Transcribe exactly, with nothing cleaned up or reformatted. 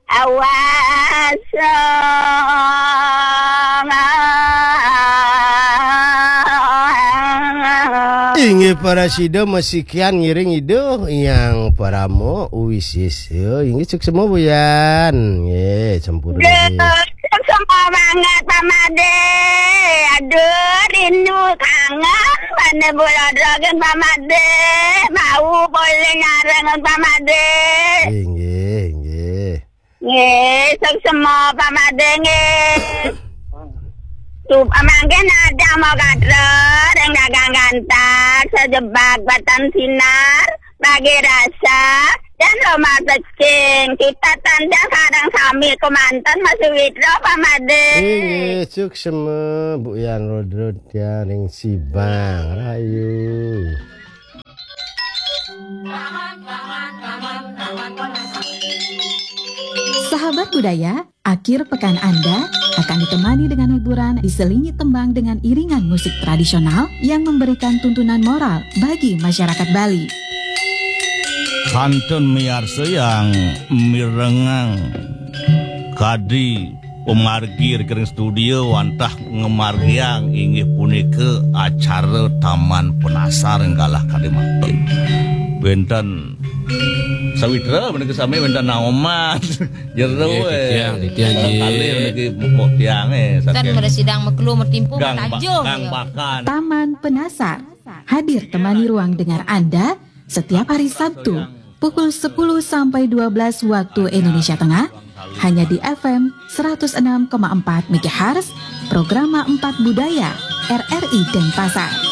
Awas. Inggih para sida masikian ngiring Ida Hyang Parama Wisesa. Inggih suksema Buyan. Nggih, sampun. Semua banget Pak Made. Aduh, rindu kangen. Mana bola dragon Pak Made. Mau boleh nyarang Pak Made. Inggih, inggih. Nggih, suksema Pak Made nggih. Sup mangkin ada mau kader yang dagang gantar sejebak batan sinar bagi rasa dan rumah becing. Kita tanda kadang sami kemanten masih witro Pak Made. Inggih, suksema Bu Yan Rodro tiang ring Sibang Rayu. Sahabat budaya, akhir pekan Anda akan ditemani dengan hiburan diselingi tembang dengan iringan musik tradisional yang memberikan tuntunan moral bagi masyarakat Bali. Kantun miarsa yang mirengang kadi pamargi ring studio wantah ngamargiang inggih punika acara Taman Penasar galah kadi mangkin. Wenten sawitra menika sami wenten naoman. Jero, nggih, eh. Titiang, titiang, nggih. Kalih menika mupuk tiang, eh, kan saking mresidang meklu metimpu gang ba-, matanjung, gang ya. Bakan. Taman Penasar hadir temani ruang dengar Anda setiap hari Sabtu pukul sepuluh sampai dua belas waktu Indonesia Tengah hanya di F M seratus enam koma empat megahertz, Programa empat Budaya, R R I Denpasar.